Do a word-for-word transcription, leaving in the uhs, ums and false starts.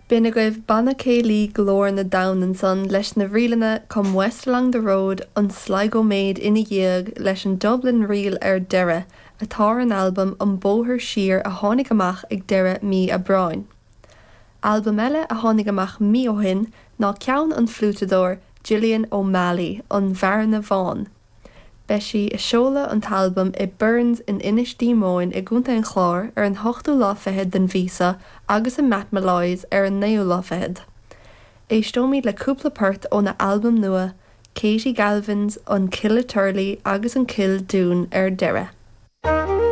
B'in agaibh Banna Céilí Glór na dTonn ansan leis na ríleanna Come West Along the Road an Sligo Maid ina dhiaidh leis an Dublin Reel ar deireadh atá ar an albam An Bóthar Siar a tháinig amach ag deireadh mí Aibreáin. Albam eile a tháinig amach mí ó shin ná ceann an fliúiteadóir Gillian O'Malley an Bhearna Bhán. Beidh sí ag seoladh an t-albam i Burns in Inis Díomóin i gContae an Chláir ar an hochtú lá fichead den mhí seo agus i Matt Molloy's ar an naoú lá fichead. Éisteoimid le cúpla port óna albam nua, Katie Galvin's an Killaturley agus an Kill Dún ar deireadh.